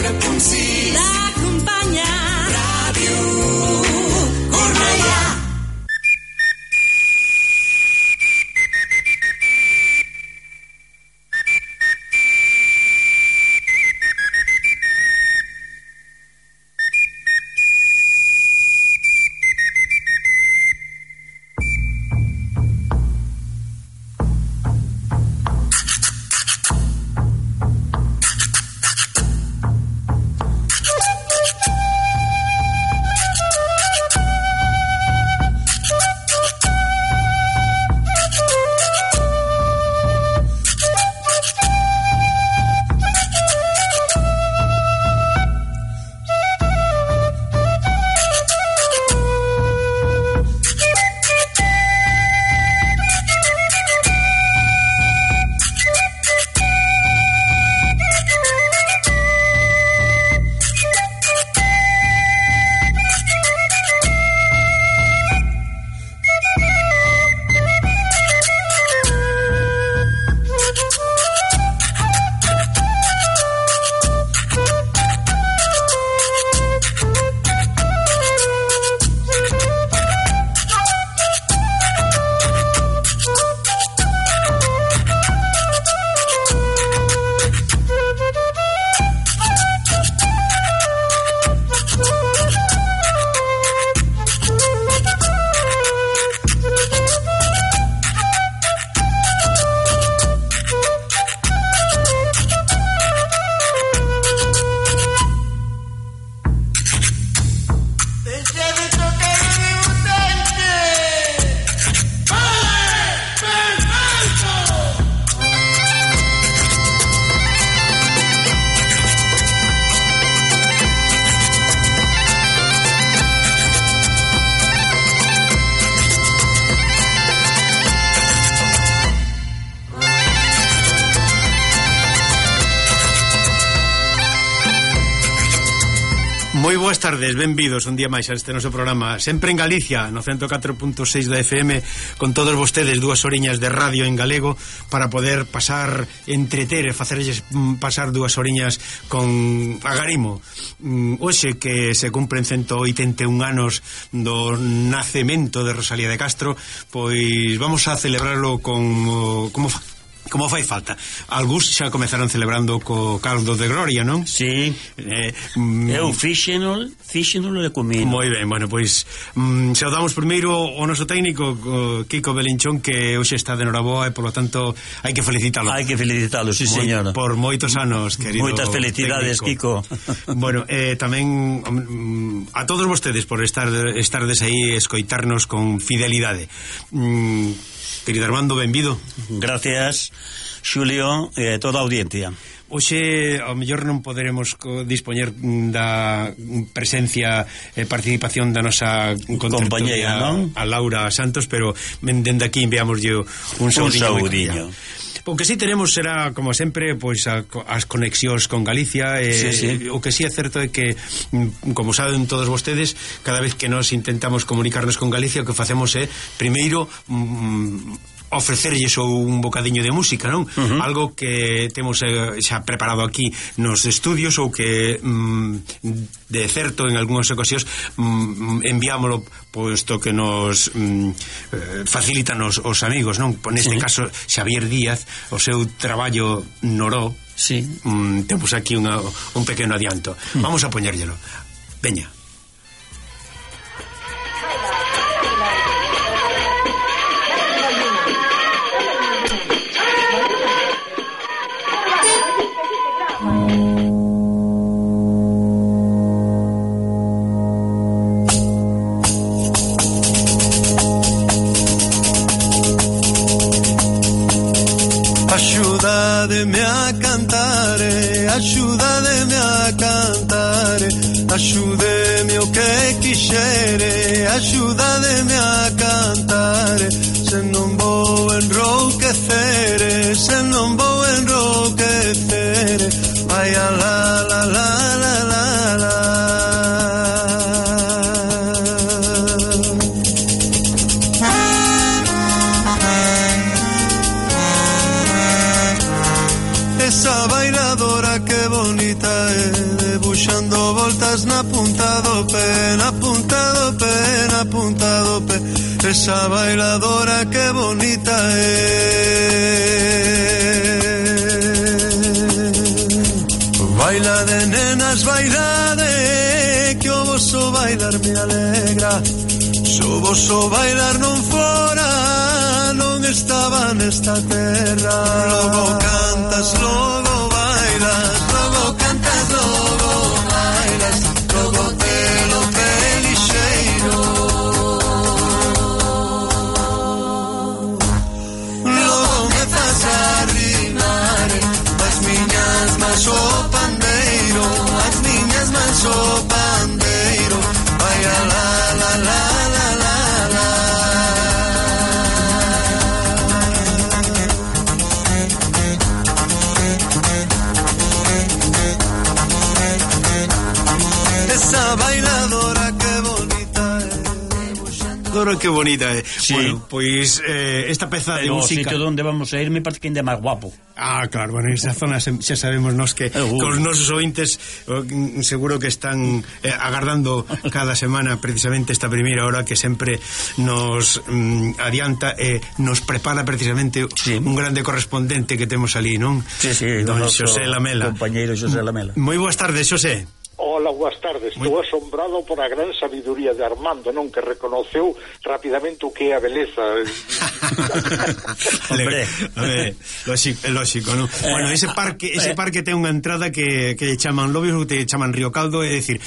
104.6 t'acompanya Ràdio Cornellà. Moi boas tardes, benvidos un día máis a este noso programa, sempre en Galicia, no 104.6 da FM, con todos vostedes, 2 horiñas de radio en galego para poder pasar, entreter e facerlles pasar 2 horiñas con agarimo. Hoxe que se cumpren 181 anos do nacemento de Rosalía de Castro, pois vamos a celebrarlo con como fai falta. Algúns xa comezaron celebrando co caldo de gloria, non? Sí. Eu fíxenol e comino. Moi ben, bueno, pois saudamos primeiro o noso técnico Kiko Belinchón, que hoxe está de noraboa e, polo tanto, hai que felicitalo. Hai que felicitalo, sí, señora. Por moitos anos, querido. Moitas felicidades, técnico. Kiko. Bueno, tamén a todos vostedes por estardes aí escoitarnos con fidelidade. Querido Armando, benvido. Gracias, Xulio, e toda a audiencia. Hoxe ao mellor non poderemos dispoñer da presencia e participación da nosa compañeira, non? A Laura Santos, pero dende aquí enviámoslle un saudiño. O que sí tenemos será, como sempre, pois as conexións con Galicia. Sí. O que sí é certo é que, como saben todos vostedes, cada vez que nos intentamos comunicarnos con Galicia, o que facemos é, primeiro, ofrecerlles un bocadiño de música, non? Algo que temos xa preparado aquí nos estudios, ou que de certo en algunhas ocasións enviámoslo, posto que nos facilitan os amigos, non? Neste caso Xavier Díaz, o seu traballo noró. Sí. Temos aquí un pequeno adianto. Vamos a poñérllelo. Veña. Axúdademe a cantare, axúdademe a cantare, axúdeme o que quixere, axúdademe a cantare, se non vou enrouquecere, se non vou enrouquecere, vai a la la la la la la. Esa bailadora que que bonita é, debuxando voltas na punta do pé, na punta do pé, na punta do pé. Esa bailadora que bonita é. Baila de nenas, baila de, que o vosso bailar me alegra. Se o vosso bailar non fora, non estaba nesta terra. Logo cantas, logo bailas, logo cantas, logo bailas, logo telo pelixeiro. Logo me faz arrimar as miñas mans o pandeiro, as miñas mans o pandeiro. Vai a la la la la la la. Esa bailadora que bonita é. Dora, que bonita é. Sí. Bueno, pois esta peza de Pero o música... sitio onde vamos a ir me parece que ainda é máis guapo. Ah, claro, bueno, esa zona xa sabemos nos que con os nosos ointes seguro que están agardando cada semana precisamente esta primeira hora que sempre nos adianta e nos prepara precisamente un grande correspondente que temos ali, non? Sí, sí, don Xosé Lamela. Compañeiro Xosé Lamela. Moi boas tardes, Xosé. Hola, boas tardes. Estou asombrado por a gran sabiduría de Armando, non, que reconoceu rapidamente o que é a beleza. Hombre, lógico, non? Bueno, ese parque ten unha entrada que chaman Lobios, que chaman Río Caldo, é dicir,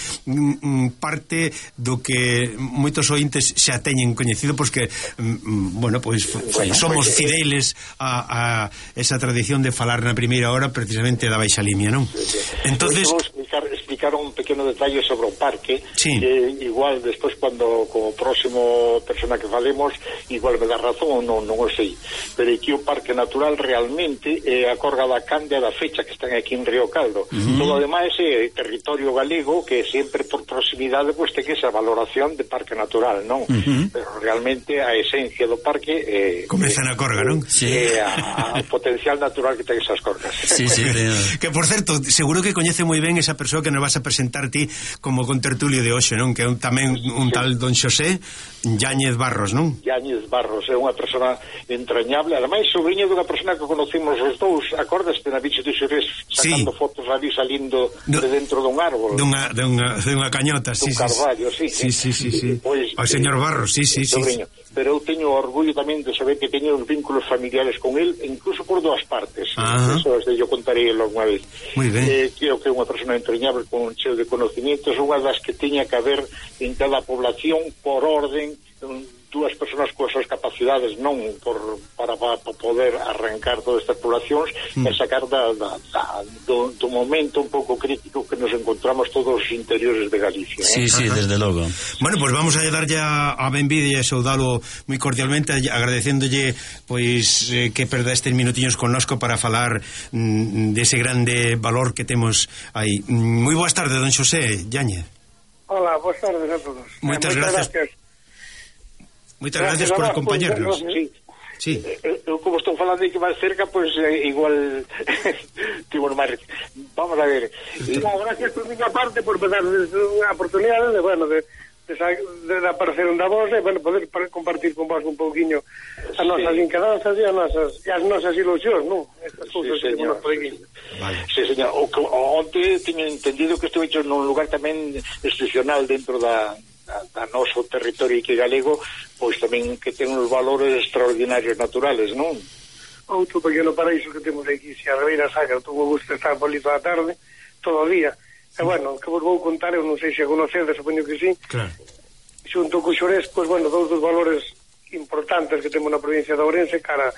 parte do que moitos ointes xa teñen coñecido, porque bueno, pois somos fideiles a esa tradición de falar na primeira hora precisamente da Baixa Limia, non? Entonces explicar un pequeno detalle sobre o parque, sí. Que igual despois cando como próximo persona que falemos igual me dá razón, non o sei, pero aquí o parque natural realmente é a Corga da Candia da Fecha, que están aquí en Río Caldo. Todo ademais é territorio galego que sempre por proximidade pues ten esa valoración de parque natural, non? Pero realmente a esencia do parque comeza na Corga, non? Sí. É a potencial natural que ten esas corgas. Sí, sí, que por certo, seguro que coñece moi ben esa persoa que nos vas a presentar ti como contertulio de hoxe, non? Que é tamén un tal don Xosé Yáñez Barros, non? Yáñez Barros é unha persona entrañable, ademais sobrinho dunha persona que conocimos os dous, acordaste na bicha de Xurés sacando fotos ali salindo de dentro dun árbol, dunha cañota, dun carvallo, sí. Pois, o señor Barros, sí. Pero eu teño orgullo tamén de saber que teño os vínculos familiares con el, incluso por dúas partes. Eso yo contaré alguna vez. Moi ben. Creo que é unha persona entrañable con un cheo de conocimientos, unha das que teña que haber en cada población por orden, dúas persoas coas súas capacidades, non para poder arrancar todas estas poblacións e sacar do momento un pouco crítico que nos encontramos todos os interiores de Galicia. Sí, desde logo. Bueno, pues vamos a darlle a benvida e saudalo moi cordialmente, agradecéndolle pois que perda estes minutiños connosco para falar dese grande valor que temos aí. Moi boas tardes, don Xosé Yáñez. Hola, boas tardes a todos. Moitas gracias. Moitas gracias por acompañarnos. Sí. Eu como estou falando de que máis cerca, pois igual timos máis. Vamos a ver. Gracias por miña parte por darles a oportunidade de aparecer onda vos e poder compartir con vos un pouquiño as nosas inquedanzas e as nosas ilusións, non? Estas cousas que temos por aquí. Vale. Sí, señor. Onte teño entendido que estou hecho nun lugar tamén excepcional dentro da noso territorio que galego, pois tamén que ten uns valores extraordinarios naturales, non? Outro pequeno paraíso que temos aquí, se a Ribeira Sacra, tuvo gusto estar por ali toda a tarde, todo o día. E bueno, que vos vou contar, eu non sei se a conocedes, supoño que sí. Claro. Xunto co Xurés, pois bueno, dous dos valores importantes que temos na provincia de Ourense, cara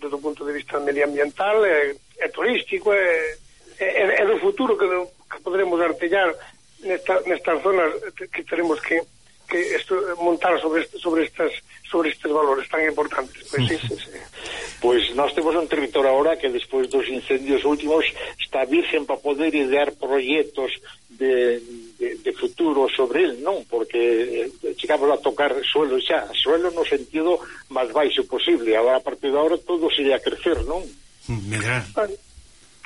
desde o punto de vista medioambiental, e turístico, e do futuro que podremos artellar nestas zonas que teremos que montar sobre estes valores tan importantes. Pois sí. Pois nós temos un territorio ahora que despois dos incendios últimos está virgen para poder idear proxectos de futuro sobre el, non? Porque chegamos a tocar suelo no sentido máis baixo posible. Agora, a partir de agora todo sería crecer, non? Medrar.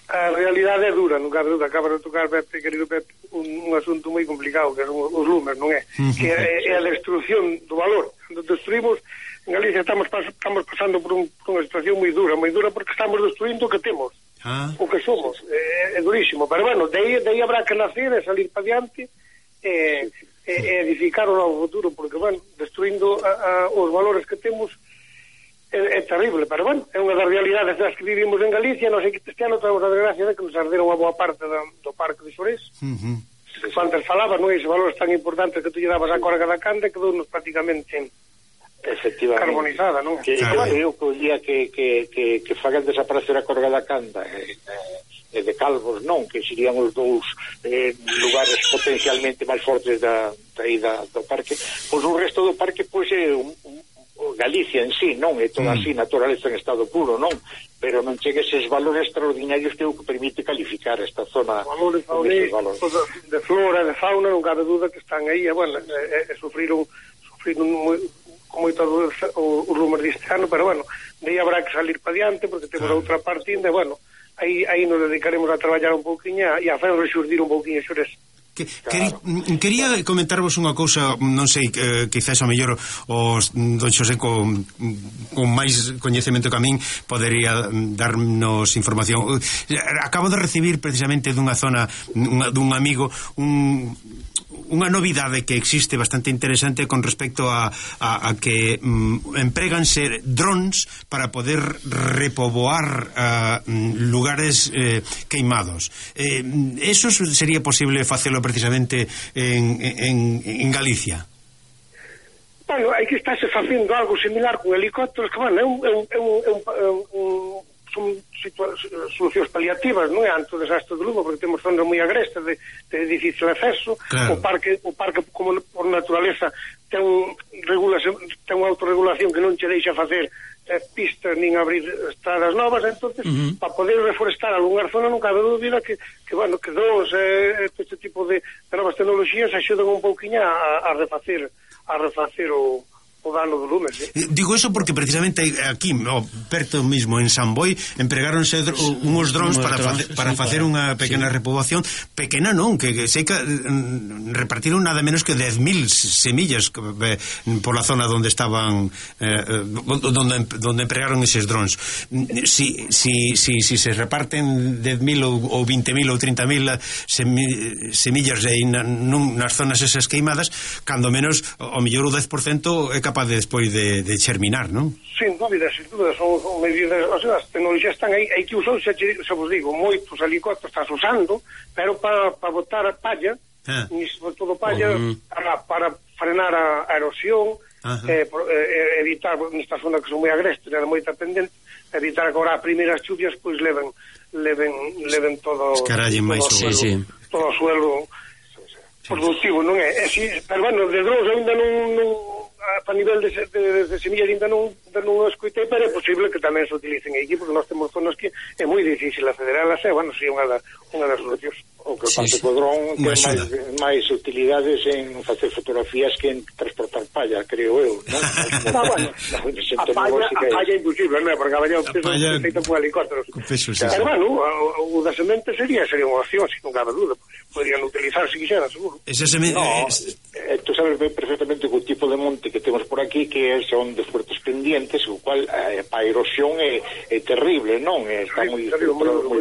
a realidade é dura, non cabe duda. Acaba de tocar, Pepe, querido Pepe, un asunto moi complicado, que son os lumes, non é? Que é a destrucción do valor. Cando destruímos, en Galicia estamos pasando por unha situación moi dura porque estamos destruindo o que temos, o que somos. É durísimo, pero bueno, de aí habrá que nacer e salir para diante e edificar o novo futuro, porque, bueno, destruindo os valores que temos é terrible, pero, bueno, é unha das realidades das que vivimos en Galicia. Nós aquí este ano temos a desgracia de que nos arderon unha boa parte do Parque de Xorés. Antes falaba, non? Esos valores tan importantes que tú lle dabas á Corga da Canda, quedou-nos prácticamente carbonizada, non? Eu que o día que fagan desaparecer a Corga da Canda e de Calvos, non, que serían os dous lugares potencialmente máis fortes do parque, pois o resto do parque pois é Galicia en sí, non é toda así naturaleza en estado puro, non, pero non chega eses valores extraordinarios que é o que permite calificar esta zona. Valores de flora, de fauna, non cabe duda que están aí, bueno, sufriron con moito o rumor deste ano, pero, bueno, de aí habrá que salir para diante, porque temos a outra parte ainda, bueno, aí nos dedicaremos a traballar un pouquinho e a fazer rexurdir un pouquinho Xorés. Quería comentarvos unha cousa, non sei, quizás ao mellor os don Xosé con máis coñecemento que a min podería darnos información. Acabo de recibir precisamente dunha zona dun amigo unha novidade que existe bastante interesante con respecto a que empréganse drones para poder repoboar lugares queimados. Eso sería posible facelo precisamente en Galicia? Bueno, aí que estáse facendo algo similar con helicópteros, que, bueno, son solucións paliativas, non é, ante o desastre do Lugo, porque temos zonas moi agrestas de difícil acceso. Claro. O parque como por naturaleza ten unha autorregulación que non che deixa facer pistas nin abrir estradas novas, entonces para poder reforestar algunha zona non cabe dúbida que bueno, que este tipo de novas tecnologías axudan un pouquiño a refacer o dano do lume, sí. Digo eso porque precisamente aquí, perto mismo en San Boi, empregáronse uns drones para facer unha pequena repoboación, pequena non, que sei que repartiron nada menos que 10.000 semillas por la zona donde estaban donde empregaron eses drones. Si se reparten 10.000 ou 20.000 ou 30.000 semillas nas zonas esas queimadas, cando menos o mellor o 10% é capaz de despois de germinar, non? Sin dúbida, son medidas, o sea, as tecnologías están aí que usou, xa vos digo, moitos helicópteros estás usando, pero para botar palla, sobre todo palla, para frenar a erosión, evitar, nestas zonas que son moi agrestes, era moita pendente, evitar que agora as primeiras chuvias pois leven todo o suelo productivo, non é? Pero, bueno, de drones ainda non a nivel de semillas ainda non escoitei, pero é posible que tamén se utilicen aquí, porque nós temos zonas que é moi difícil acceder a elas, bueno, si unha das solucións. O que pasa que o dron ten máis utilidades en facer fotografías que en transportar palla, creo eu, non? Bueno, a palla é imposible, non é? Porque a palla é feita por helicópteros. Pero, bueno, o da semente sería unha opción, sin non cabe dúda, podrían utilizar se quixeran, seguro. Esa semente... Tú sabes perfectamente que o tipo de monte que temos por aquí que son de fuertes pendientes, o cual a erosión é terrible, non? Está moi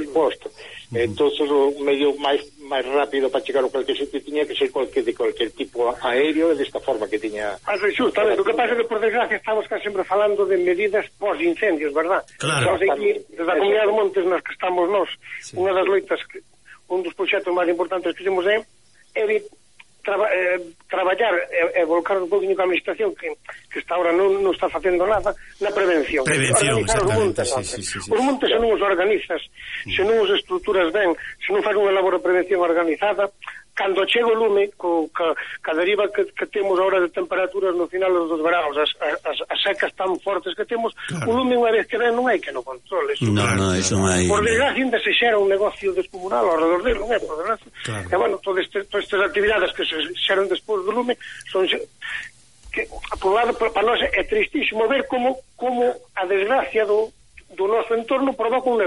exposto. Entonces o medio máis rápido para chegar ao cualquier sitio tiña que ser de cualquier tipo aéreo, desta forma que tiña... Justamente, o que pasa é que por desgracia estamos casi sempre falando de medidas pós-incendios, verdad? Claro. Estamos aquí, desde a Comunidade de Montes nas que estamos nós, unha das loitas, un dos proxectos máis importantes que temos é traballar e volcar un pouquinho con a administración que está ahora non está facendo nada na prevención, organizar os montes. Os montes se non os organizas, se non os estruturas ben, se non faz unha labor de prevención organizada, cando chega o lume ca deriva que temos agora de temperaturas no final dos veranos, as secas tan fortes que temos, o lume unha vez que ven non hai que no controle. Eso non hai. Por desgracia ainda se xera un negocio descomunal ao redor dele, non é? Por desgracia. E bueno, todas estas actividades que se xeran despois do lume son que, por lado, para nós é tristísimo ver como a desgracia do noso entorno provoca un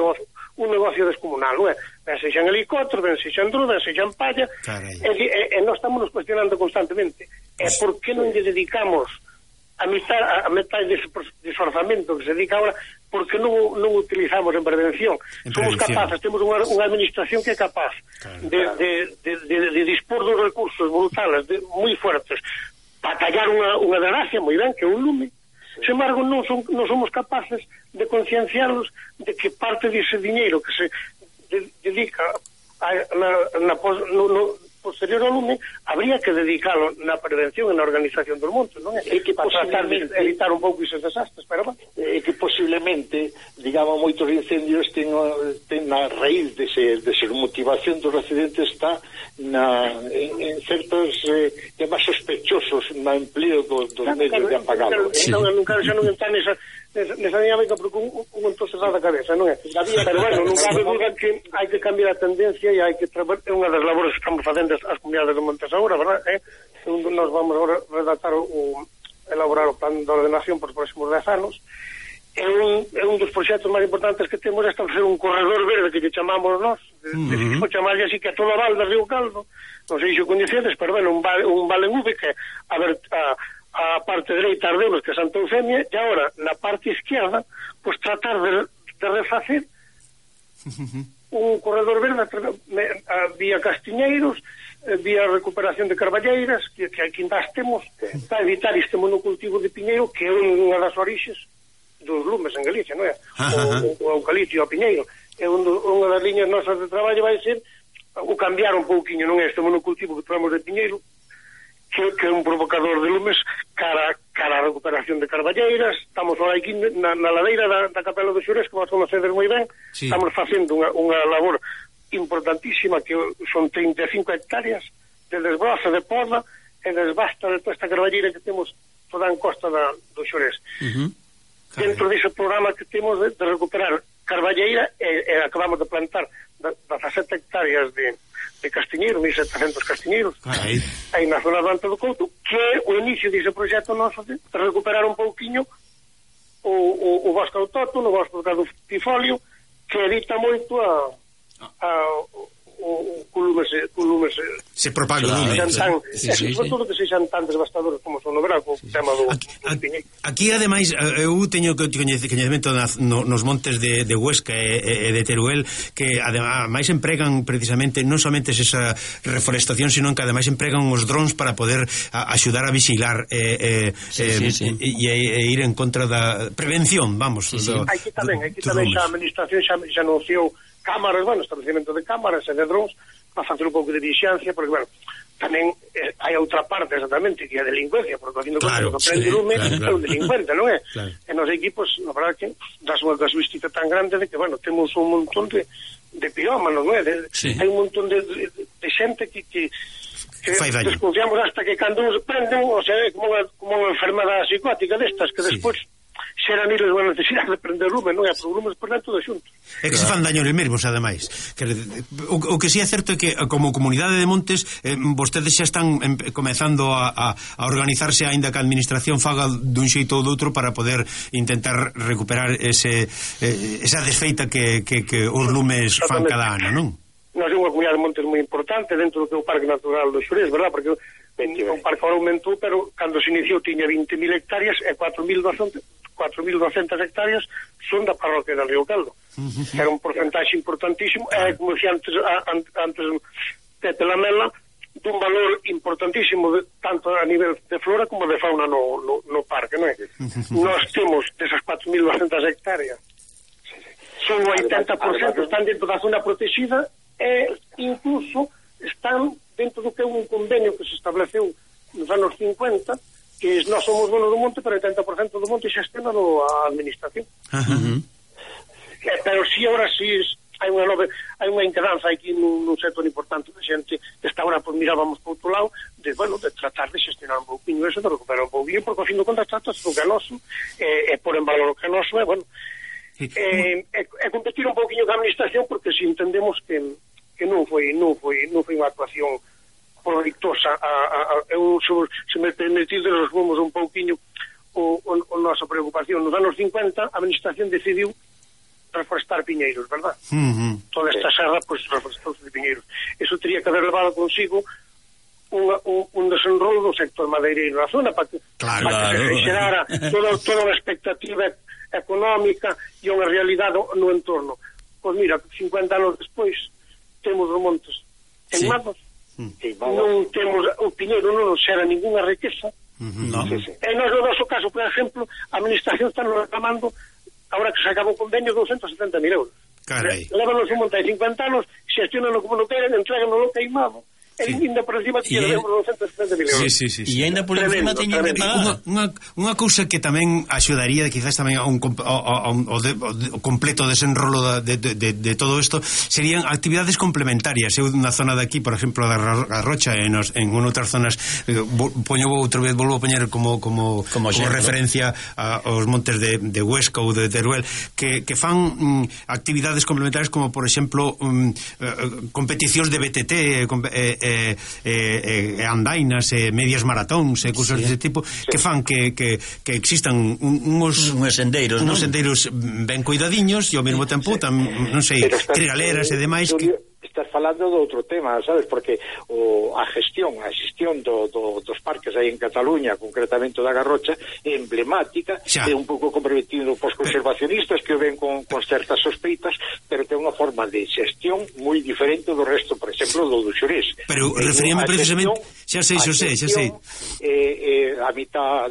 un negocio descomunal, non é? Ben sexa en helicóptero, ben sexa en dron, ben sexa en palla, e nós estamos nos cuestionando constantemente. E por que non lle dedicamos a metade dese orzamento que se dedica ahora, porque non utilizamos en prevención. Somos capaces, temos unha administración que é capaz de dispor dos recursos brutales, moi fuertes, para tallar unha desgracia, moi ben, que é un lume. Sin embargo, non somos capaces de concienciarlos de que parte dese diñeiro que se dedica no posterior ao lume, habría que dedicalo na prevención e na organización dos montes, non é? Que para tratar de evitar un pouco esos desastres, pero que posiblemente, digamos, moitos incendios ten na raíz desa motivación dos residentes está en certos temas sospechosos no empleo dos medios de apagado. Nunca xa non está nesa dinámica porque un entonces da cabeza, non é? Pero bueno, non cabe duda que hai que cambiar a tendencia e hai que trabalhar, é unha das labores que estamos facendo as comunidades de montes agora, verdad? Nos vamos agora redactar elaborar o plan de ordenación por os próximos 10 anos. É un dos proxectos máis importantes que temos, é establecer un corredor verde que chamamos nós, o chamarlle así que a toda a val de Río Caldo, non sei se o coñecedes, pero bueno, un vale en V que a parte dereita Ardeulos, que é Santa Eufemia, e agora na parte izquierda, pues tratar de refacer un corredor verde vía Castiñeiros, vía recuperación de carballeiras que aquí nas temos para evitar este monocultivo de piñeiro que é unha das orixes dos lumes en Galicia, non é? O eucalipto e o piñeiro é unha das liñas nosas de traballo vai ser o cambiar un pouquiño, non é este monocultivo que temos de piñeiro que é un provocador de lumes cara a recuperación de carballeiras. Estamos ahora aquí na ladeira da Capela dos Xurés, que vos conocedes moi ben. Estamos facendo unha labor importantísima que son 35 hectáreas de desbroza de poda e desbasta de toda esta carballeira que temos toda en costa do Xurés. Dentro dese programa que temos de recuperar carballeira e acabamos de plantar 17 hectáreas de castiñeiro, 1.700 castiñeiros aí na zona do Alto do Couto, que é o inicio dese proxecto noso de recuperar un pouquiño o bosque autóctono, o bosque do Tifolio, que evita moito o lume se propaga o lume, sobre todo que sexan tan devastadores como son no verán, co tema do piñeiro. Aquí ademais eu teño coñecemento nos montes de Huesca e de Teruel que ademais empregan precisamente non somente esa reforestación, sino que ademais empregan os drons para poder axudar a vigilar e ir en contra da prevención, vamos. Aquí tamén a administración xa anunciou cámaras, bueno, establecimento de cámaras e de drones para facer un pouco de vigilancia, porque, bueno, tamén hai outra parte exactamente que é a delincuencia, porque haciendo conta que prende lume é un delincuente, non é? E nos equipos, na verdade que das unha casuística tan grande de que, bueno, temos un montón de pirómanos, non é? Hai un montón de xente que desconfiamos hasta que cando nos prenden, o sea, é como unha enfermedade psicótica destas que despois xeran iles unha necesidade de prender lume, non é? Por lumes por dentro de xunto. É que se fan daño eles mesmos, ademais. O que sí é certo é que, como comunidade de montes, vostedes xa están comezando a organizarse, aínda que a administración faga dun xeito ou doutro para poder intentar recuperar esa desfeita que os lumes fan cada ano, non? Nós é unha comunidade de montes moi importante dentro do que é o Parque Natural do Xurés, verdad? Porque o parque agora aumentou, pero cando se iniciou tiña 20.000 hectáreas e 4.200 hectáreas son da parroquia de Río Caldo. Era un porcentaxe importantísimo, como dixía antes Pepe Lamela, dun valor importantísimo tanto a nivel de flora como de fauna no parque, non é? Nós temos desas 4.200 hectáreas, son o 80% están dentro da zona protegida e incluso están dentro do que é un convenio que se estableceu nos anos 50, que nós somos donos do monte, pero 80% do monte xa está a administración. Pero si ahora si hai unha inquedanza aquí nun sector importante de xente que está ahora, pues mirábamos por outro lado de tratar de xestionar un pouquinho eso, de recuperar un pouquinho, porque ao fin do contas tratas o que é noso e por en valor o que é noso e competir un pouquinho ca administración, porque si entendemos que non foi unha actuación proveitosa. Se me permitides, resumimos un pouquiño a nosa preocupación. Nos anos 50 a administración decidiu reforestar piñeiros, verdad? Toda esta serra, pues, reforestados de piñeiros. Eso teria que haber levado consigo un desenrolo do sector madeireiro na zona para que se xerara toda a expectativa económica e unha realidade no entorno. Pois mira, 50 anos despois temos os montes queimados, non temos o piñeiro, non nos xera ninguna riqueza. E nós, no noso caso, por exemplo, a administración está nos reclamando, agora que se acabou o convenio, 270.000 euros. Lévanos un monte de 50 anos, xestionan como non queren, entregan no queimado. E ainda por encima tiña 270.000 euros. E ainda por encima teñen que pagar. Unha cousa que tamén axudaría quizás tamén ao completo desenrolo de todo isto serían actividades complementarias. Eu na zona de aquí, por exemplo, da Garrocha, en outras zonas, volvo a poñer como referencia aos montes de Huesca ou de Teruel, que fan actividades complementarias como, por exemplo, competicións de BTT, andainas, medias maratóns e cousas dese tipo, que fan que existan uns sendeiros ben cuidadiños e ao mesmo tempo non sei, trigaleras e demais que estás falando de outro tema, sabes, porque a xestión dos parques aí en Cataluña, concretamente da Garrocha, é emblemática, é un pouco comprometido pos conservacionistas que o ven con certas sospeitas, pero ten unha forma de xestión moi diferente do resto, por exemplo, do Xurés. Pero referíame precisamente, xa sei. A mitad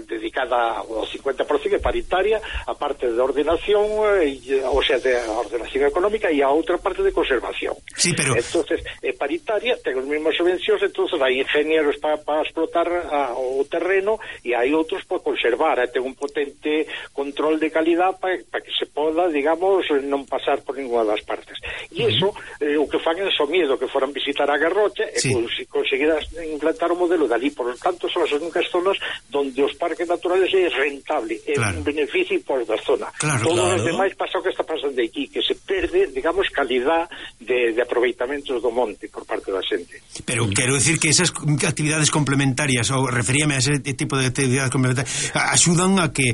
dedicada ao 50% é paritaria, a parte de ordenación, o sea, de ordenación económica, e a outra parte de conservación. Sí, pero entonces é paritaria, ten as mesmas subvencións, entonces hai ingenieros para explotar o terreno e hai outros para conservar, ten un potente control de calidad para que se poda, digamos, non pasar por ninguna das partes. E iso, o que fan é miedo que foran visitar a Garrocha e conseguir implantar o modelo dali, por lo tanto son as únicas zonas donde os parques naturales é rentable, é un beneficio por da zona. Todos os demais pasa o que está pasando aquí, que se perde, digamos, calidad de aproveitamentos do monte por parte da xente. Pero quero decir que esas actividades complementarias, ou referíame a ese tipo de actividades complementarias, axudan a que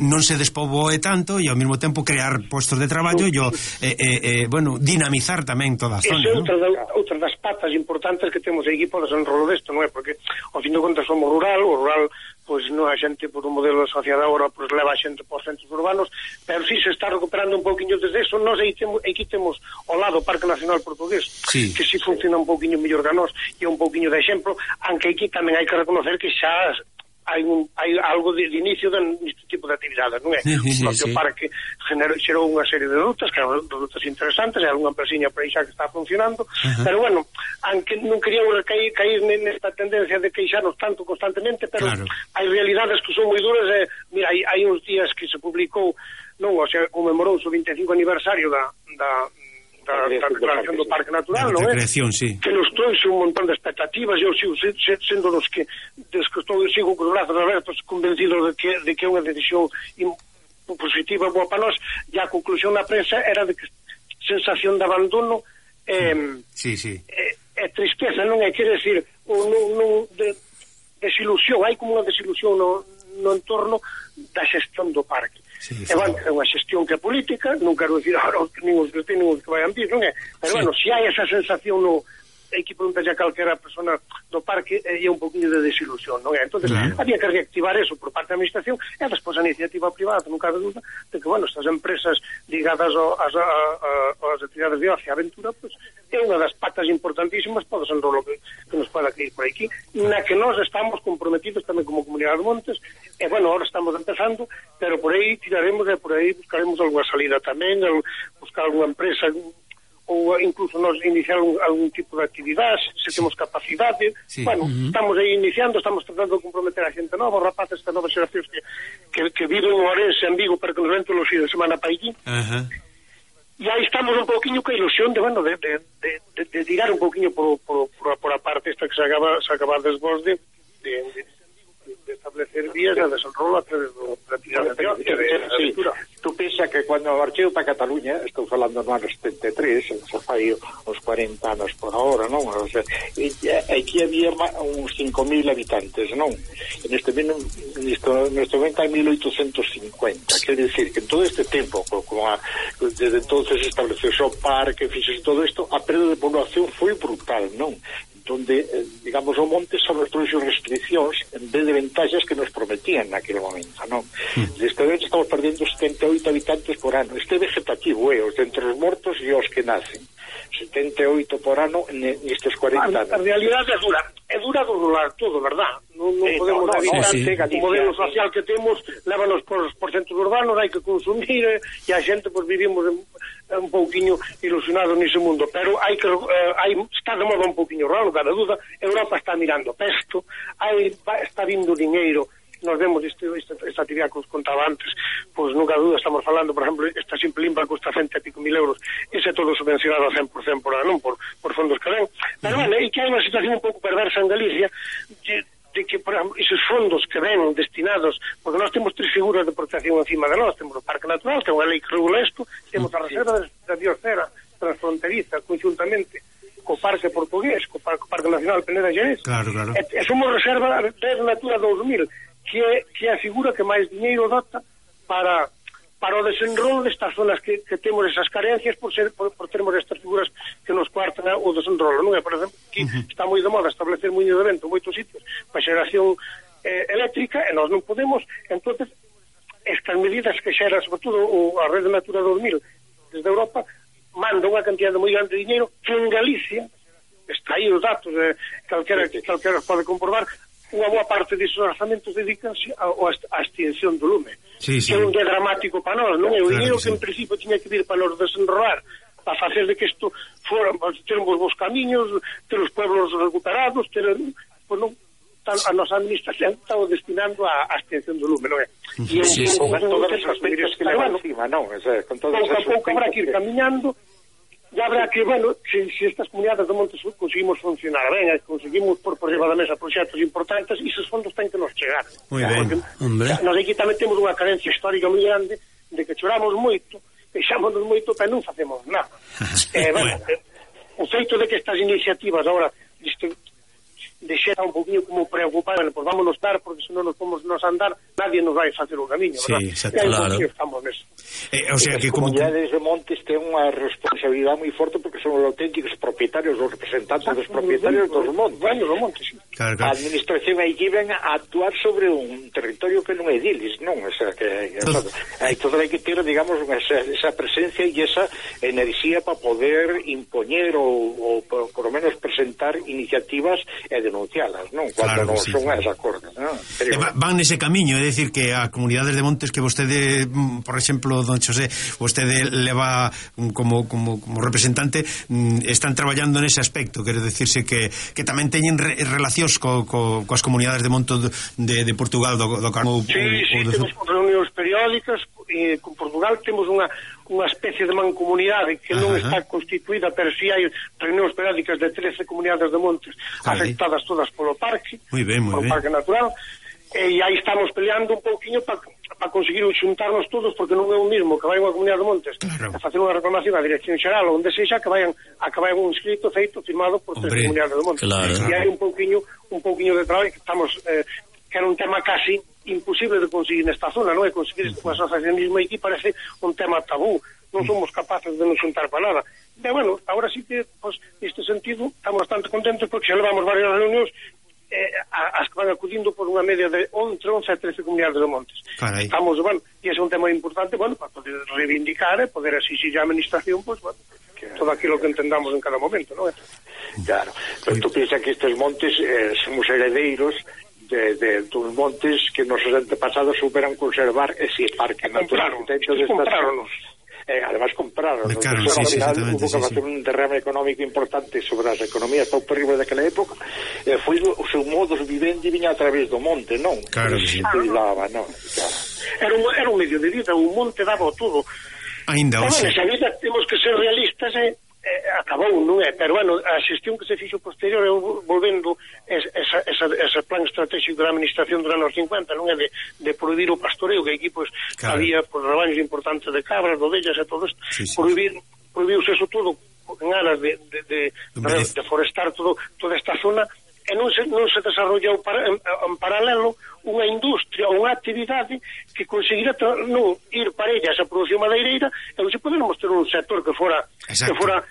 non se despoboe tanto e ao mesmo tempo crear postos de traballo e dinamizar tamén toda a zona. Esa é outra das patas importantes que temos aquí por desenrolo desto, non é? Porque ao fin de contas somos rural, o rural pois non a xente por un modelo asociado agora pois leva a xente por centros urbanos, pero si se está recuperando un pouquiño desde eso. Nós aquí temos ao lado o Parque Nacional Portugués, que si funciona un pouquiño mellor que nós e un pouquiño de exemplo, aunque aquí tamén hai que reconocer que xa hai algo de inicio deste tipo de actividades, non é? O propio parque xerou unha serie de rutas, que eran rutas interesantes, e algunha empresiña por aí xa que está funcionando, pero bueno, aunque non queríamos cair nesta tendencia de queixarnos tanto constantemente, pero hai realidades que son moi duras. Mira, hai uns días que se publicou, conmemorouse o 25 aniversario da declaración do Parque Natural, non é? Que nos trouxe un montón de expectativas. Eu sigo sendo dos que sigo con os brazos abertos, convencidos de que é unha decisión positiva, boa para nós, e a conclusión da prensa era de que sensación de abandono é tristeza, non é? Quer decir, desilusión, hai como unha desilusión no entorno da xestión do parque. É unha xestión que é política, non quero dicir agora nin os que vayan vir, non é? Pero bueno, se hai esa sensación hai que preguntar a calquera persona do parque, é un poquinho de desilusión, non é? Entonces, había que reactivar eso por parte da administración e despois a iniciativa privada, non cabe dúda de que, estas empresas ligadas ás actividades de ocio e aventura, é unha das patas importantísimas para o desenrolo que nos poda cair por aquí, na que nós estamos comprometidos tamén como Comunidade de Montes, e ahora estamos empezando, pero por aí tiraremos e por aí buscaremos algunha salida tamén, buscar algunha empresa, ou incluso nos iniciar algún tipo de actividade, se temos capacidade. Estamos aí iniciando, estamos tratando de comprometer a xente nova, os rapaces das novas xeracións que viven en Ourense, en Vigo, para que nos ven todos os días de semana para aquí. E aí estamos un pouquiño con a ilusión de tirar un pouquiño por a parte esta que se acaba desvós de establecer vías de desenrolo a través da actividade de aventura. Tú pensa que cando marchei para Cataluña, estou falando no ano 73, xa fai uns 40 40 anos por hora, non? O sea, aquí había uns 5.000 habitantes, non? Neste momento hai 1.850. Quer decir que en todo este tempo, desde entonces estableceu o parque, fixese todo isto, a perda de población foi brutal, non? Donde, digamos, o monte sobre todas as restriccións en vez de ventaxas que nos prometían naquele momento, non? Deste momento estamos perdendo 78 habitantes por ano. Este é vegetativo, os entre os mortos e os que nacen. 78 por ano nestes 40 anos. A realidade é dura dolar todo, verdad? Non podemos evitar o modelo social que temos, lévanos por centros urbanos, hai que consumir, e a xente, pois, vivimos un pouquiño ilusionados nese mundo, pero está de moda un pouquiño raro, cada duda. Europa está mirando pesto, está vindo diñeiro. Nos vemos esta actividade que os contaba antes, pois nunca duda estamos falando, por exemplo, esta simple limpa custa 100 e pico mil euros, ese é todo subvencionado a 100% por fondos que ven. Pero bueno, e que hai unha situación un pouco perversa en Galicia, de que, por exemplo, esos fondos que ven destinados, porque nós temos 3 figuras de protección encima de nós, temos o Parque Natural, que é unha lei que regula isto, temos a Reserva da Biosfera transfronteriza, conjuntamente co Parque Portugués, co Parque Nacional Peneda Xerés. Claro. E somos Reserva de Natura 2000, que é a figura que máis diñeiro dota para o desenrolo destas zonas que temos esas carencias por termos estas figuras que nos cuartan o desenrolo, non é? Por exemplo, aquí está moi de moda establecer muiño de vento en moitos sitios para xeración eléctrica, e nós non podemos. Entonces, estas medidas que xera, sobre todo a Rede Natura 2000 desde Europa, manda unha cantidad moi grande de diñeiro que en Galicia, está aí os datos, calquera pode comprobar, unha boa parte desos orzamentos dedicanse á extinción do lume, que é un día dramático para nós, non é? O dinheiro que en principio tiña que vir para nos desenrolar, para facer de que isto fora, ter uns bons camiños, ter os pueblos recuperados, pois non, a nosa administración está destinando á extinción do lume, non é? E con todas as aspectos que leva encima, non? Pouco a pouco habrá que ir camiñando. Ya habrá que, bueno, se estas comunidades de montes conseguimos funcionar ben, conseguimos por riba da mesa proxectos importantes, e esos fondos ten que nos chegar. Moi ben, hombre. Nos aquí tamén temos unha carencia histórica moi grande de que choramos moito, queixámonos moito, pero non facemos nada. Bueno, o feito de que estas iniciativas agora deixera un poquinho como preocupar, bueno, pues vámonos dar, porque se non nos podemos andar, nadie nos vai facer o camiño, verdad? Sí, exacto, claro. Estamos neso. O sea, que as comunidades de montes ten unha responsabilidade moi forte porque son os auténticos propietarios, os representantes dos propietarios dos montes. Bueno, dos montes, sí. Claro. A administración aí ven a actuar sobre un territorio que non é diles, non? O sea, que todo hai que ter, digamos, esa presencia e esa enerxía para poder impoñer ou por lo menos presentar iniciativas e denuncialas, non? Cuando non son as acordes, non? Van nese camiño, é dicir que a comunidades de montes que vostede, por exemplo, don Xosé, vostede leva como representante, están traballando nese aspecto, quero dicirse que tamén teñen relacións coas comunidades de monte de Portugal, do Carmo. Sí, temos reunións periódicas, e con Portugal temos unha especie de mancomunidade que non está constituída, pero si hai reunións periódicas de 13 comunidades de montes afectadas todas polo parque, polo Parque Natural, e aí estamos peleando un pouquiño para conseguir xuntarnos todos, porque non é o mismo que vai unha comunidade de montes a facer unha reclamación á Dirección Xeral onde sexa que vayan un escrito feito firmado por 3 comunidades de montes. E hai un pouquiño de traballo que estamos que era un tema casi imposible de conseguir nesta zona, non é? Conseguir este asociacionismo aquí parece un tema tabú, non somos capaces de nos xuntar para nada. E bueno, agora sí que, pues, neste sentido estamos bastante contentos porque xa levamos varias reunións as que van acudindo por unha media de 11 a 13 comunidades de montes. Carai. Estamos, bueno, e ese é un tema importante, bueno, para poder reivindicar e poder exigir a administración, pues, bueno, todo aquilo que entendamos en cada momento, non é? Claro, pero tú piensas que estes montes somos heredeiros dos montes que nosos antepasados superan conservar ese parque natural. Compraronos. Además compraron, claro, al final hubo que facer un derrame económico importante sobre as economías paupérrimas daquela época, foi o seu modus vivendi viña a través do monte, non? Claro que sí. Cuidaba, non? Claro. Era un medio de vida, o monte daba todo. Ainda, esa vida temos que ser realistas, acabou, non é? Pero, bueno, a xestión que se fixo posterior é volvendo ese plan estratégico da administración dos anos 50, non é? De prohibir o pastoreo, que aquí, pues, había rebaños importantes de cabras, de ovellas e todo isto. Prohibiuse eso todo en aras de forestar toda esta zona, e non se desarrollou en paralelo unha industria ou unha actividade que conseguira non ir para ella esa produción madeireira, e non se podermos ter un sector que fora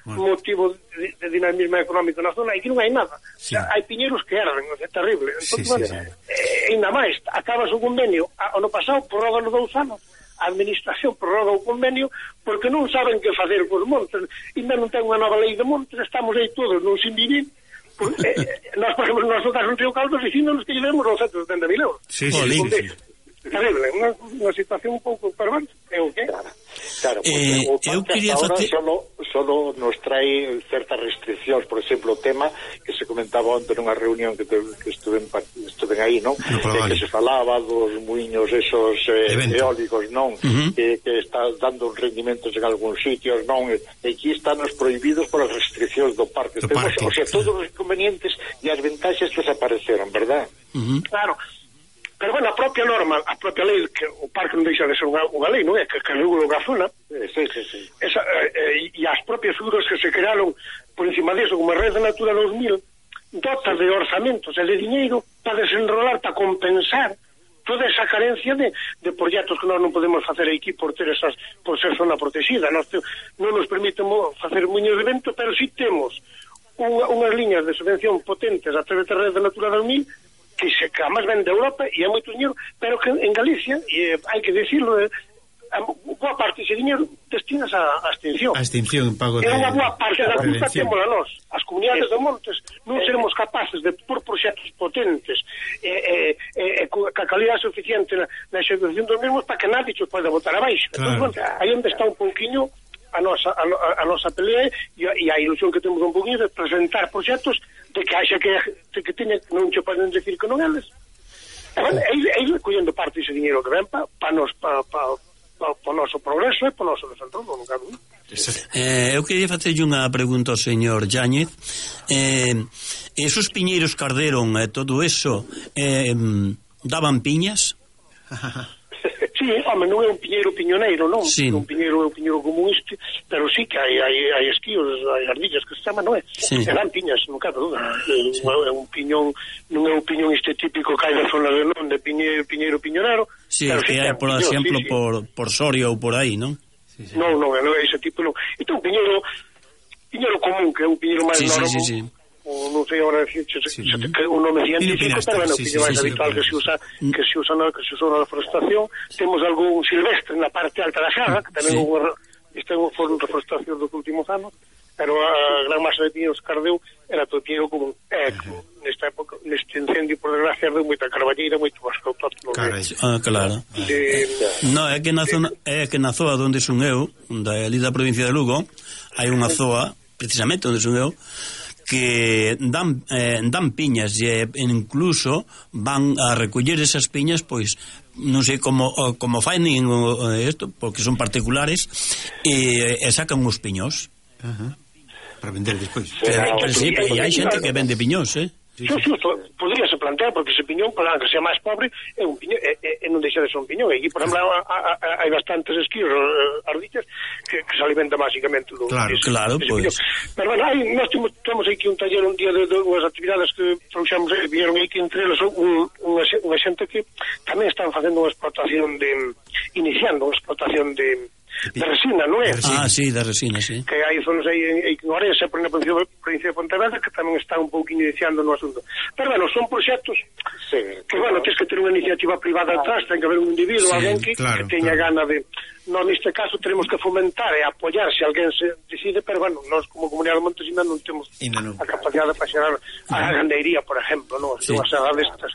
motivo de dinamismo económico na zona, e que non hai nada. Sí. Hai piñeiros que erran, é terrible. Entón, ainda máis, acabas o convenio ano pasado, prorroga nos 2 anos, a administración prorroga o convenio porque non saben que facer cos montes, ainda non ten unha nova lei de montes, estamos aí todos non sin vivir. Nós, por exemplo, nós no caso en Río Caldo dicíndonos que llevemos 970.000 euros. Sí. Terrible, unha situación un pouco perversa. Claro, porque o parque hasta ahora solo nos trae certas restriccións, por exemplo, o tema que se comentaba onte nunha reunión que estuven aí, non? Que se falaba dos muiños esos eólicos, non? Que está dando rendimentos en algúns sitios, non? E aquí están os prohibidos por as restriccións do parque. O sea, todos os inconvenientes e as ventaxas desapareceron, verdad? Claro. Pero, bueno, a propia norma, a propia lei, que o parque non deixa de ser unha lei, non é? Que regula a zona. Sí. E as propias figuras que se crearon por encima disso, como a Red de Natura 2000, dotas de orzamentos e de diñeiro para desenrolar, para compensar toda esa carencia de proxectos que nós non podemos facer aquí por ser zona protegida. Non nos permiten facer muños de vento, pero si temos unhas liñas de subvención potentes a través da Red de Natura 2000 que además ven de Europa e é moito dinheiro, pero que en Galicia, e hai que decirlo, boa parte dese dinheiro destinas a extinción. A extinción, pago de... É unha boa parte da culpa temos a nós. As comunidades de montes non seremos capaces de por proxectos potentes e ca calidade suficiente na execución dos mesmos para que nadie os poida botar abaixo. Claro. Entón, aí onde está un pouquiño a nosa pelea e a ilusión que temos un pouquinho de presentar proxectos de que haxa que teña, non che poden decir que non eles. E ir collendo parte dese dinheiro que ven para o noso progreso e para o noso desenvolvemento, non cabe. Eu queria facerlle unha pregunta ao señor Yáñez. Esos piñeiros que arderon e todo eso daban piñas? Sí, home, non é un piñeiro piñoneiro, non? Sí. Un piñeiro común este, pero sí que hai esquíos, hai ardillas que se chaman, non é? Sí. E dan piñas, non cabe duda. É un piñón, non é un piñón este típico que hai da zona de non, de piñeiro piñonero. Sí, que hai, por exemplo, por Soria ou por aí, non? Non, é ese tipo, non. Entón, piñeiro común, que é un piñeiro máis normal. Sí. Non sei agora decir un nome científico, pero bueno, que é máis habitual que se usa na reforestación. Temos algún silvestre na parte alta da Xarra, que tamén foron reforestación dos últimos anos, pero a gran masa de piños que ardeu era todo piñeiro común. Nesta época, neste incendio, por desgracia, ardeu moita carballeira, moito bosque autóctono. Claro. No, é que na zoa onde son eu, ali da provincia de Lugo, hai unha zoa, precisamente onde son eu, que dan piñas e incluso van a recoller esas piñas, pois non sei como faen isto, porque son particulares, e sacan os piñós para vender despois. Pero sí, e hai xente que vende piñós, Sí, podríase plantear, porque ese piñón, para que sea máis pobre, é un piñón, e non deixa de ser un piñón. E aquí, por exemplo, hai bastantes esquíos, ardillas, que se alimentan basicamente do... Claro, pois. Pero, bueno, nós temos aquí un taller un día de unhas actividades que trouxemos, vieron aquí entre eles unha xente que tamén están facendo unha explotación iniciando unha explotación de resina, non é? Sí, de resina, sí. Que hai zonas aí en Orense, por exemplo, provincia de Pontevedra, que tamén está un pouco iniciando no asunto. Pero, bueno, son proxectos que, bueno, tens que ter unha iniciativa privada atrás, ten que haber un individuo, alguén que teña gana de... Non, neste caso, tenemos que fomentar e apoiar se alguén se decide, pero, bueno, nós como Comunidade de Montes non temos a capacidade para xerar a gandeiría, por exemplo, non? Se unhas agas destas,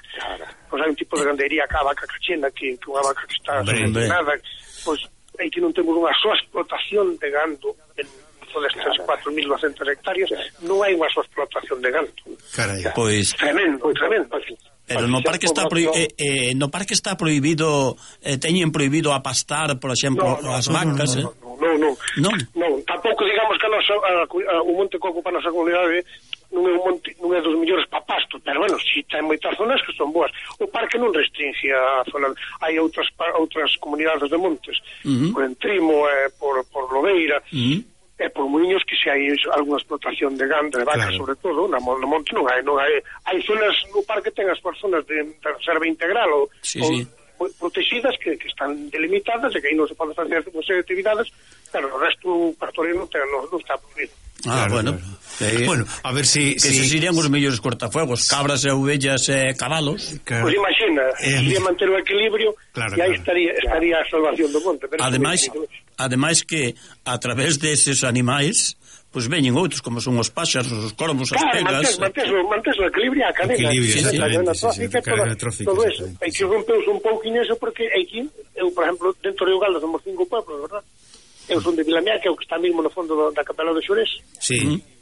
pois hai un tipo de gandeiría, a vaca cachena, que unha vaca que está subvencionada, pois aí que non temos unha soa explotación de gando en todas estas 4.200 hectáreas, non hai unha soa explotación de gando. Carai. Pois tremendo. Pero no parque está prohibido, teñen prohibido apastar, por exemplo, as vacas, Non, tampouco digamos que o monte que ocupa a nosa comunidade non é dos mellores para pasto, pero bueno, si ten moitas zonas que son boas. O parque non restringe a zona, hai outras comunidades de montes, por Entrimo, por Lobeira, por moinhos que se hai algunha explotación de gando, de vacas, sobre todo, no monte non hai zonas no parque, ten as zonas de reserva integral ou protegidas que están delimitadas e que aí non se pode facer unha serie de actividades, pero o resto o pastoreo non está prohibido. Bueno, a ver si serían os mellores cortafuegos, cabras e ovellas e cabalos. Pois imagina, sería manter o equilibrio e aí estaría a salvación do monte. Pero ademais que a través deses animais pois veñen outros, como son os páxaros, os corvos, as pegas. Mantes o equilibrio, a cadena trófica, todo eso. Hai que rompeus un pouquinho eso, porque aquí, eu, por exemplo, dentro de Ugalda somos 5 pueblos, verdad? Eu son de Vilamea, que é o que está mesmo no fondo da capela do Xurés.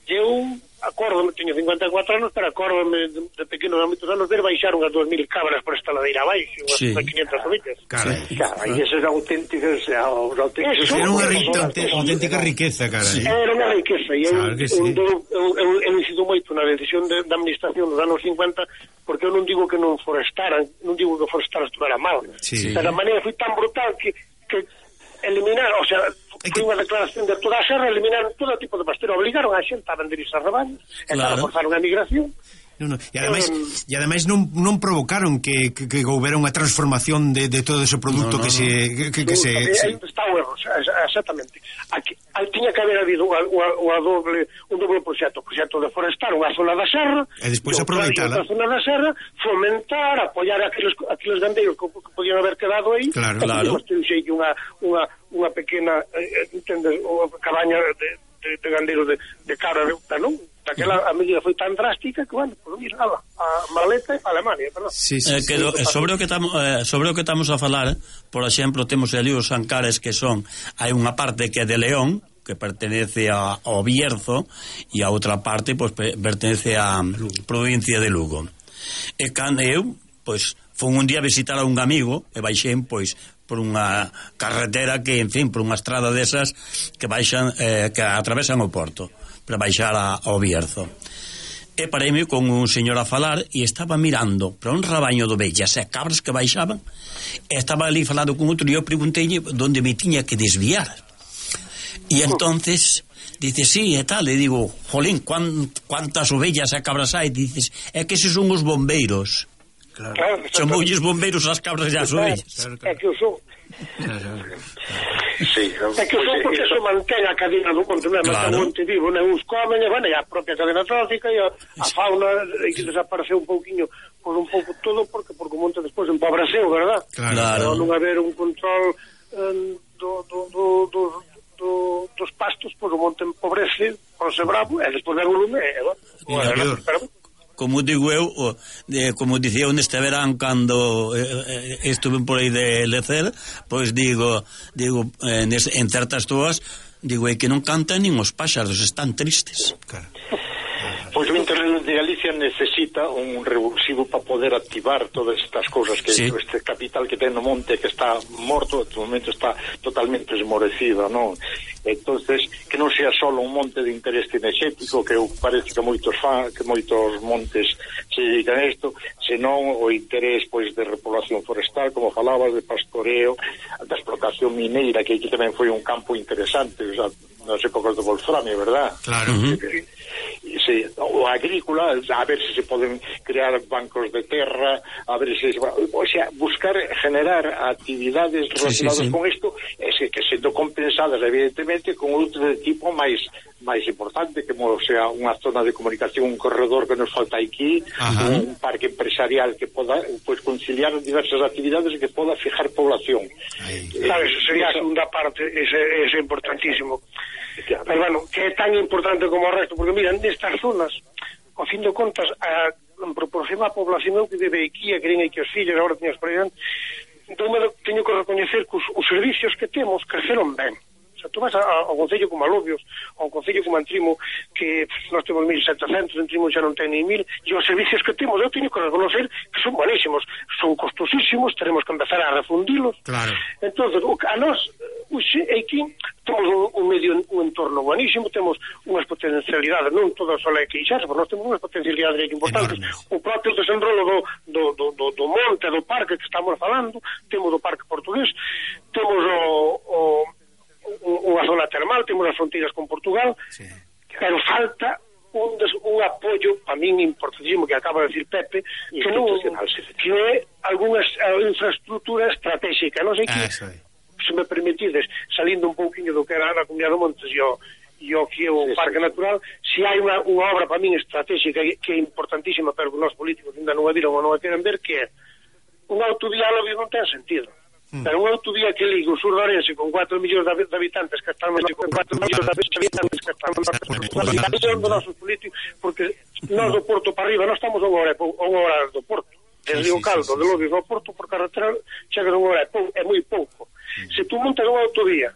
Eu acórdome, teño 54 anos, pero acórdome de pequeno, de moitos anos, ver baixar unhas 2000 cabras por esta ladeira abaixo, unhas 500 ovellas. E esas auténticas... Era unha auténtica riqueza, cara. Era unha riqueza, e eu incido moito na decisión da administración dos anos 50, porque eu non digo que non forestaran, non digo que forestar estuvera mal, pero a maneira foi tan brutal que eliminar, o sea, foi unha declaración de toda a serra, eliminaron todo tipo de pastoreo, obligaron a xente a vender esas rebaños, e forzaron a migración. E ademais non provocaron que houbera unha transformación de todo ese produto que se está bueno, exactamente. Tiña que haber habido un doble proxecto de forestar unha zona da serra e despois aproveitala, outra zona da serra, fomentar, apoiar aqueles gandeiros que podían haber quedado aí, unha pequena cabaña de gandeiros de cabra de uta, non? Daquela a medida foi tan drástica que, bueno, por mira, a maleta a Alemania, perdón. Sobre o que estamos a falar, por exemplo, temos ali os Ancares, que hai unha parte que é de León, que pertenece ao Bierzo, e a outra parte pois pertenece á provincia de Lugo. E cando eu, pois, fui un día a visitar a un amigo e baixei, pois, por unha carretera que, en fin, por unha estrada desas que baixan, que atravesan o porto para baixar ao Bierzo. E pareime con un señor a falar e estaba mirando para un rabaño de ovellas e cabras que baixaban, e estaba ali falando con outro e eu preguntei onde me tiña que desviar. E entonces dice, sí, e tal, e digo, jolín, cuántas ovellas e cabras hai? Dices, é que eses son os bombeiros. Son moulles bombeiros as cabras e as ovellas. É que o son. É que o son porque se mantén a cadena do monte, mantén o monte vivo, uns comen, e a propia cadena trófica e a fauna que desapareceu un pouquiño, por un pouco todo, porque o monte despois empobreceu, verdad? Claro. Non haber un control dos pastos, pois o monte empobrece, ponse bravo, e despois vem o lume, como digo eu, como dicía neste verán cando estuve por aí de lecer, pois digo en certas toas, digo, é que non cantan nin os páxaros, están tristes. Pois o Internet de Galicia necesita un revulsivo para poder activar todas estas cousas que este capital que ten no monte, que está morto, en este momento está totalmente esmorecido, non? Entonces, que non sea solo un monte de interés cinexético, que parece que moitos montes se dedican a isto, senón o interés pois de repoblación forestal, como falabas, de pastoreo, da explotación mineira, que aquí tamén foi un campo interesante, o sea, nas épocas do Wolframio, verdad? Claro. O agrícola, a ver se poden crear bancos de terra, a ver se, o sea, buscar generar actividades relacionadas con isto, que sendo compensadas evidentemente con outro de tipo máis importante, como sea unha zona de comunicación, un corredor que nos falta aquí, un parque empresarial que poda pois conciliar diversas actividades e que poda fijar población. Sabes, sería a segunda parte, ese é importantísimo. Pero bueno, que é tan importante como o resto, porque mira, nestas zonas, ao fin de contas, en proporción a población que vive aquí, a que ven aquí os fillos, agora teño experiencia, teño que recoñecer que os servicios que temos creceron ben. O sea, tú vas ao concello como Alobios, ao concello como Antrimo, que nós temos 1.700, Antrimo xa non ten ni 1.000, e os servicios que temos, eu teño que reconocer que son buenísimos, son costosísimos, teremos que empezar a refundilos. Claro. Entonces, a nós, aquí, temos un entorno buenísimo, temos unhas potencialidades, non todas só é queixarse, pero nós temos unhas potencialidades importantes. Enormes. O propio desenrolo do monte, do parque que estamos falando, temos o parque portugués, temos o unha zona termal, temos as fronteiras con Portugal, pero falta un apoio para min importantísimo que acaba de decir Pepe, que é algunha infraestructura estratégica. Non sei que, se me permitides, salindo un pouquinho do que era a Comunidade de Montes e o que é o Parque Natural, se hai unha obra para min estratégica que é importantísima, pero que os políticos ainda non a viron ou non a queren ver, que é unha autovía a Lobios non ten sentido. Pero unha autovía que liga o sur de Ourense con 4 millóns de habitantes que están con 4 millóns de habitantes que están dos nosos políticos, porque nós do Porto para arriba, nós estamos a unha hora do Porto, desde o Caldo de Lobios ao Porto por carretera chega a unha hora, é moi pouco. Se tú montas unha autovía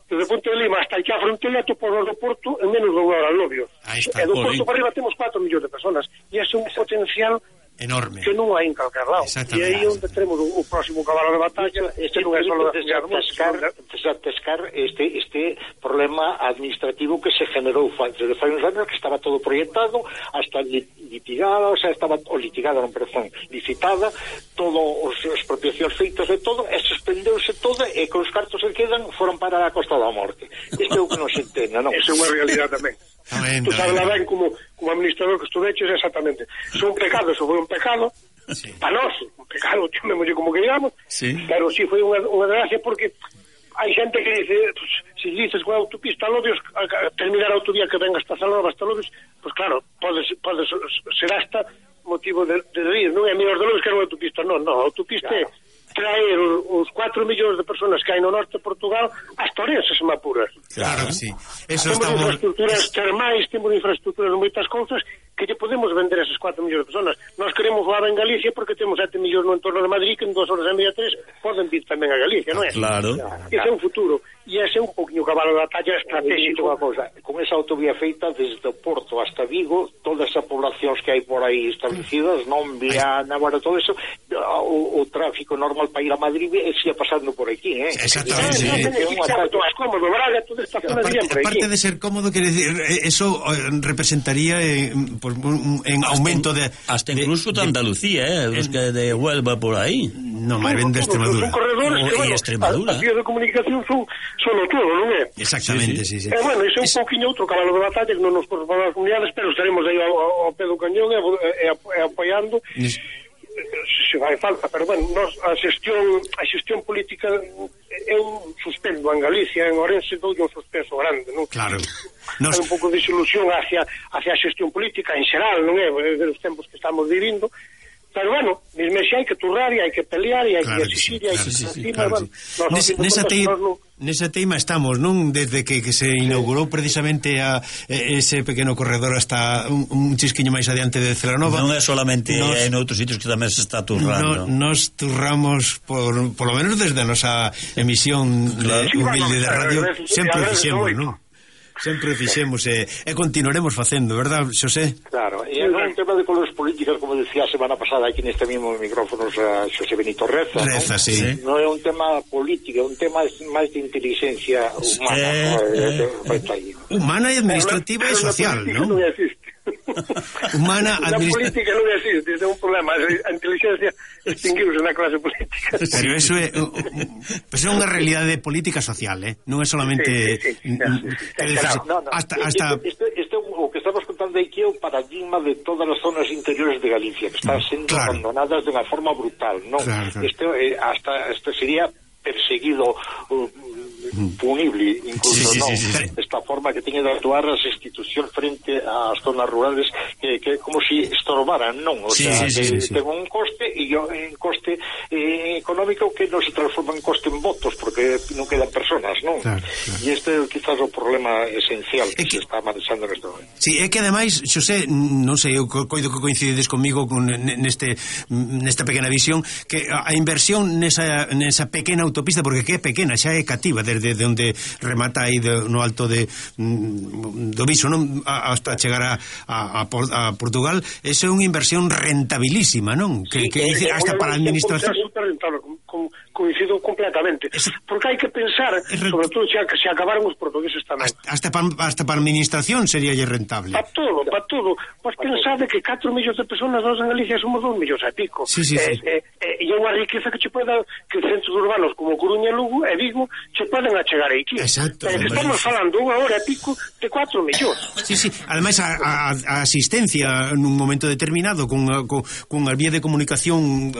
desde Ponte de Lima hasta aquí a fronteira, tú por do Porto en menos de unha hora Lobios, e do Porto para arriba temos 4 millóns de personas, e ese é un potencial enorme que non hai en calquer lado, e aí onde teremos o próximo cabalo de batalla. Este non é só desatascar este problema administrativo que se generou desde fai uns anos, que estaba todo proyectado, hasta litigada, licitada, todo as expropiacións feitas de todo, e suspendeuse todo, e que os cartos que quedan foron para a Costa da Morte. Isto é o que non se entende, non? Eso é unha realidade tamén. Tú sabes ben como administrador que estudeches, exactamente. Son pecados, ou foi un pecado para nós, un pecado, chamémoslle como que digamos, pero sí foi unha desgracia, porque hai xente que dice, pues, se dices con a autopista a Lobios, terminar a autovía que venga hasta Salón, hasta Lobios, pues claro, pode ser hasta motivo de rir, non é mellor de Lobios que era unha autopista, non, a autopista é traer os 4 millóns de personas que hai no norte de Portugal hasta Ourense, se me apuras. Claro, sí. Temos infraestructuras termais, temos infraestructuras de moitas cousas que lle podemos vender a esas 4 millóns de personas. Nós queremos voar en Galicia porque temos 7 millóns no entorno de Madrid, que en 2 horas e media, 3 poden vir tamén a Galicia, non é? Claro. Ese é un futuro, e ese é un poquinho cabalo da talla estratégico. Con esa autovía feita desde o Porto hasta Vigo, todas as poblacións que hai por aí establecidas, non Viana, agora todo eso, o tráfico normal para ir a Madrid siga pasando por aquí, Exactamente. Cómodo, Braga, toda esta zona aparte de ser cómodo, quiere decir, eso representaría en aumento de... Hasta incluso de Andalucía, los que de Huelva por ahí. No, máis ben de Extremadura. Son corredores que, bueno, Extremadura. As vías de comunicación son o todo, non é? Exactamente, sí. Bueno, iso é un pouquinho outro cabalo de batalla que non nos corresponde ás comunidades, pero estaremos aí ao pé do cañón e apoiando se vai falta, pero bueno, a xestión política é un suspenso en Galicia, en Ourense doulle un suspenso grande, non? Claro. Hai un pouco de desilusión hacia a xestión política en xeral, non é? De os tempos que estamos vivindo. Pero bueno, mesmo xe hai que turrar e hai que pelear e hai que exigir e hai que encima, bueno, nesa teima estamos, non? Desde que se inaugurou precisamente ese pequeno corredor hasta un chisquiño máis adiante de Celanova. Non é solamente en outros sitios que tamén se está turrando. Nos turramos por lo menos desde a nosa emisión humilde de radio, sempre fixemos, non? Sempre fixemos e continuaremos facendo, verdad, Xosé? Claro, e é un tema de colores políticas, como decía a semana pasada aquí neste mismo micrófono Xosé Benito Reza, ¿no? Sí. Non é un tema político, é un tema máis de inteligencia humana, humana e administrativa e social, ¿no? Non existe. Humana, a política non existe, é un problema. A inteligencia extinguiuse na clase política. Pero eso é unha realidade política social, non é solamente hasta o que estamos contando aquí é o paradigma de todas as zonas interiores de Galicia que están sendo abandonadas de unha forma brutal, non? Este sería perseguido, punible incluso, esta forma que tiene de actuar as institucións frente ás zonas rurales que como si estorbaran, non? O sea, ten un coste e un coste económico que non se transforma en coste en votos porque non quedan personas, non? E este é quizás o problema esencial que se está manexando neste momento. Sí, é que ademais, Xosé, non sei, eu coido que coincides comigo nesta pequena visión, que a inversión nesa pequena autopista, porque que é pequena, xa é cativa desde onde remata aí no alto do Viso, non? Hasta chegar a Portugal, eso é unha inversión rentabilísima, non? Que hasta para a administración é super rentable, con coincido completamente, porque hai que pensar, sobre todo se acabaron os portugueses tamén. Hasta para administración sería rentable. Para todo. Pois pensade que 4 millóns de personas nós en Galicia somos 2 millóns e pico. Sí. E é unha riqueza que centros urbanos como Coruña, Lugo e Vigo se poden achegar aquí. Exacto. Estamos falando unha hora e pico de 4 millóns. Sí. Ademais, a asistencia nun momento determinado con a vía de comunicación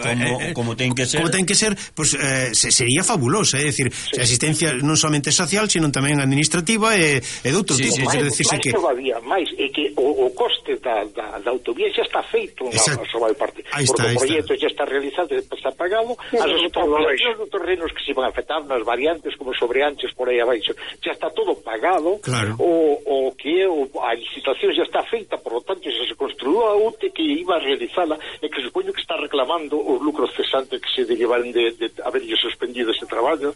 como ten que ser, pues, sería fabulosa, é dicir, asistencia non somente social, sino tamén administrativa e de outro tipo. Máis é que o coste da autovía xa está feito na súa parte, porque o proxecto xa está realizado, está pagado, as explotacións dos terrenos que se van a afectar nas variantes como sobreanches por aí abaixo, xa está todo pagado. Claro. O que a licitación xa está feita, por lo tanto xa se construiu a UTE que iba a realizala e que supoño que está reclamando os lucros cesantes que se derivaron de haberlle suspendido ese traballo.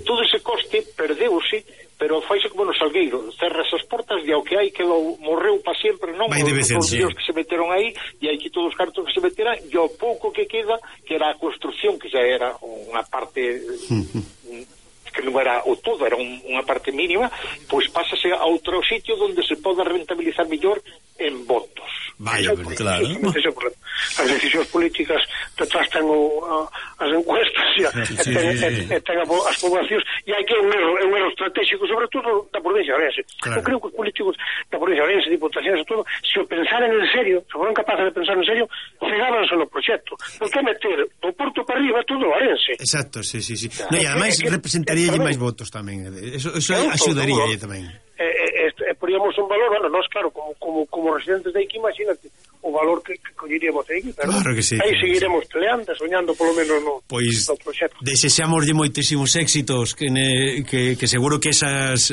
Todo ese coste perdeuse, pero faise como no Salgueiro, cerras as portas e ao que hai quedou, morreu para sempre, non? Os que se meteron aí e hai que todos os cartos que se meteran e ao pouco que queda, que era a construcción, que xa era unha parte que non era o todo, era unha parte mínima, pois pásase a outro sitio onde se poda rentabilizar mellor en votos. Vaya, claro. As decisións políticas detrás ten as encuestas e ten as poblacións, e hai que un erro estratégico, sobre todo da provincia de Ourense. Eu creo que os políticos da provincia de Ourense, diputacións e todo, se o pensaran en serio, se foran capaces de pensar en serio, cegábanse no proxecto. Por que meter do Porto para arriba todo Ourense? Exacto, sí. No, e ademais representaríalle máis votos tamén. Eso axudaríalle tamén. Poríamos un valor, bueno, nós claro, como residentes de aquí, imagínate o valor que colleríamos aí, claro que sí, aí seguiremos peleando, soñando polo menos no proxecto. Desexamoslle moitísimos éxitos, que seguro que esas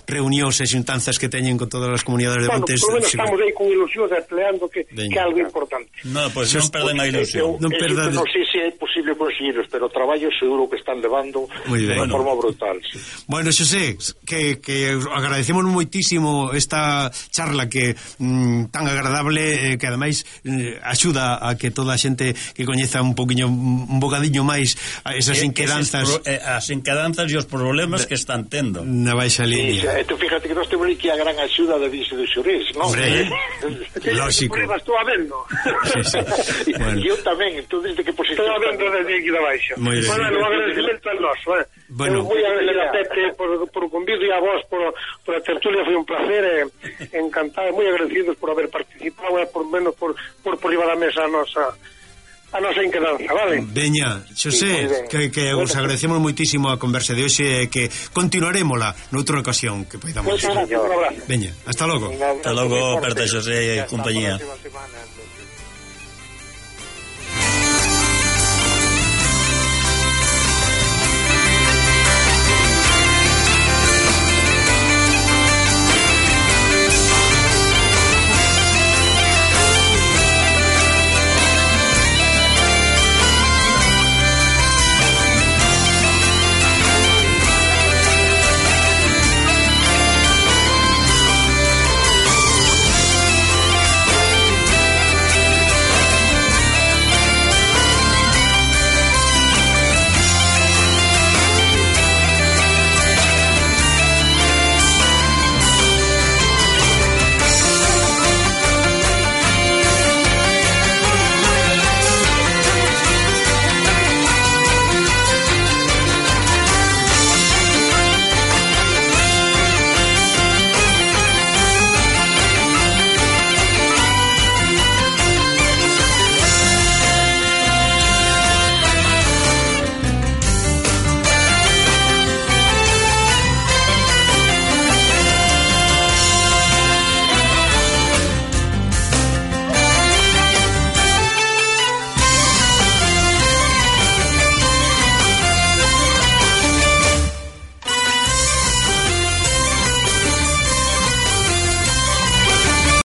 reunións e xuntanzas que teñen con todas as comunidades de Montes, polo menos estamos aí con ilusión peleando que é algo importante. Non perden a ilusión. Non sei se é posible conseguiros, pero o traballo seguro que están levando de unha forma brutal. Bueno, Xosé, que agradecemos moitísimo esta charla que tan agradable, que ademais axuda a que toda a xente que coñeza un bocadiño máis a esas inquedanzas, as inquedanzas e os problemas que están tendo na baixa línea. Tú fíjate que nós temos aquí a gran axuda da Vice de Xurés, non? Lógico. Estou a vendo. E eu tamén, entón desde que posición estou a vendo desde aquí da baixa. Bueno, un agradecimento al noso, eu moi agradecer a Pepe por o convido e a vos por a tertulia, foi un placer, encantado, moi agradecidos por haber participado e por menos por riba da mesa a nosa inquedanza, vale? Veña, Xosé, que os agradecemos moitísimo a conversa de hoxe e que continuarémola noutra ocasión que poidamos. Un abrazo. Veña, hasta logo. Hasta logo, Berta, Xosé e compañía.